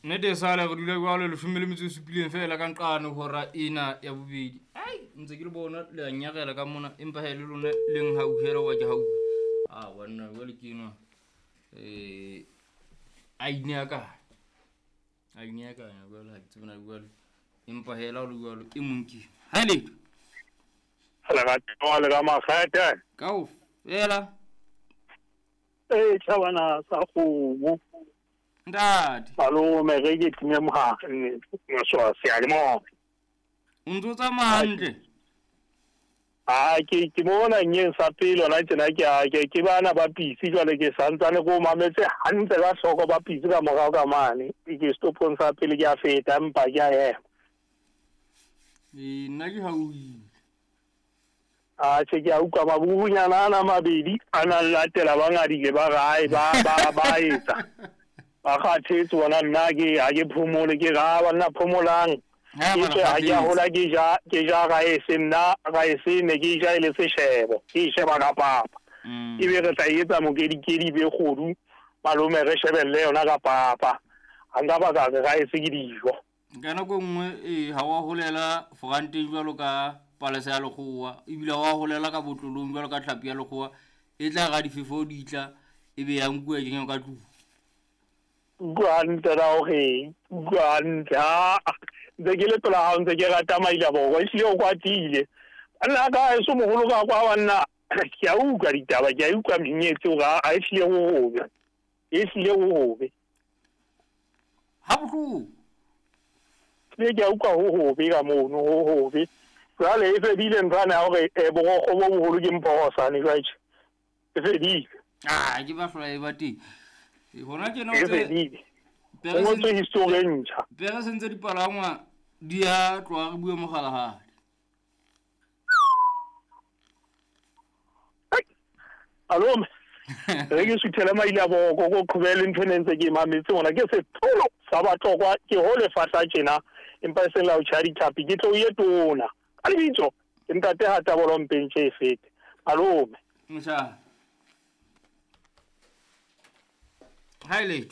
Nnete e sale re dula jwalo 17 feela ka nqane hora ena ya bobedi. Ai, ntse ke le bona le a nyarela ka mona empa ha e le lona le nhauhela wa ke hau. Ah, banna jwale ke enwa. A ineakanya. A ineakanya jwale ha ke tsebe na jwale. Empa hela o le jwalo e mong ke. Ha e letho. Lerato le ka makgethe. Kaofela. Eh, tjhabana sa kgomo. Ntate. Malome re ke time mogare maswa seyalemoya. O ntso tsamaya hantle? Ah, ke mona nyeng sa pele hona tjena ke a ke bana ba pisi jwale ke santsane ko mametse hantle ka hloko ba pisi ka morao ka mane. Ke stopong sa pele ke a feta empa ke a ema. Eh, nna ke hauile. A che ke a utlwa mabubunyana ana mabedi a nang latela ba ngadile ba rae ba ba ba etsa. Ba kgathetse bona nna ke ha ke phomole ke ra ba nna phomolang. Ke tswe ha ke a hola ke ja raese nna raese ne ke ja e le seshebo ke e sheba ka papa. Ebe re tla etsa mokedikedi be kgodu malome re shebelle yona ka papa. Ha nka ba ka re raese ke dijo. Ka nako nngwe ha wa holela foranteng jwalo ka palesa ya lekgowa ebile wa holela ka botlolong jwalo ka tlhapi ya lekgowa e tla ra difefo di tla ebe ya nkuwa kenywa ka tlung. Utlwa hantle la hore utlwa hantle ha ntse ke le pela hao ntse ke rata maila borwa ehlile o kwatile. Banna ka heso moholo ka kwa banna ke a utlwa ditaba ke a utlwa menyetsi hore a ehlile ho hobe. Ehlile ho hobe. Ha bohloko. Ke ke a utlwa ho hobe ka mono ho hobe. Jwale e fedile nthwana ya hore borokgo bo boholo ke mphorosane jwale. E fedile. Ah, ke ba hlola e ba teng. Hona tjena o tse o ngotswe history e ntjha. Pere sentse dipalangwa di a tloha re bue mogalahadi. Malome, re ke suthele maile boko ko qhobele ntho ne ntse ke mametse hona ke setholo sa batlokwa ke ho lefahla tjena empa e seng la ho tjha ditlhapi ke tlo ye tona. Ka lebitso ke ntate ha tabolo mpentse e fete. Malome. Mosha. Ha ile.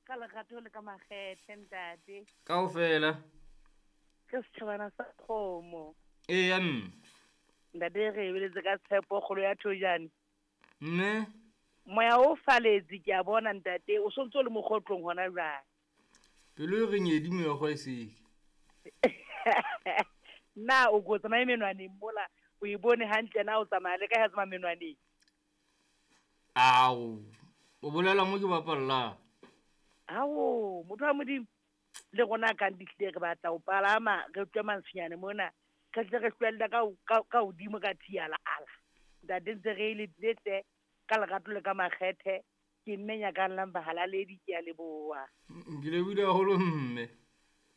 Ka lerato le ka makgethe ntate. Kaofela. Ke setjhabana sa kgomo. Eya mme. Ntate re ebeletse ka tshepo kgolo ya thojane. Mme. Moya o faletse ke a bona ntate o sontso le mokgotlong hona jwale. Pelo e re nyedi meokgo e seke. Na o go tsamaya menwaneng mola o e bone hantle na o tsamaya le ka ya tsamaya menwaneng. Ao. O bolela mo ke bapallang. Ao, motho wa Modimo le rona ka ditlile re batla o palama re tswe mantshinyane mona re tle re hlwella ka hodimo ka thiala ala. Ntate ntse re le tlete ka lerato le ka makgethe ke mme nyakang bahalaledi ke a leboha. Ke lebohile haholo mme.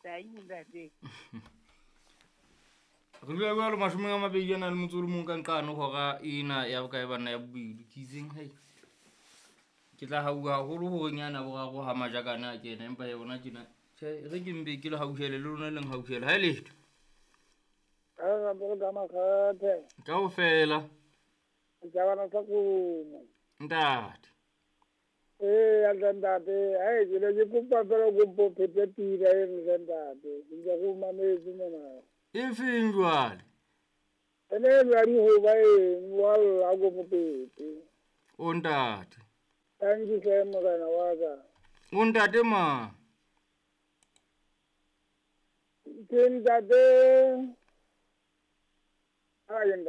Tai ntate. Re dula jwalo 21 ka nqane hora ena ya bokae banna ya bobedi ke itseng hei. Ke tla hauha haholo hore nyana boraro ha majakana a kena empa ya bona tjena tjhe re ke mbe ke le hauhele le lona leng hauhele ha e letho. Ka makgethe. Kaofela. Setjhabana sa kgomo. Ntate. Eh, ntate, ai ke ne ke kopa fela kopo phete pina eno hle ntate. Ke ntse ke o mametse mona. E feng jwale? Ene eno ya dihoba eno wa lla ko mopete. O ntate. Thank you hle morena wa ka. O ntate ma. Ke ntate. Ai ntate.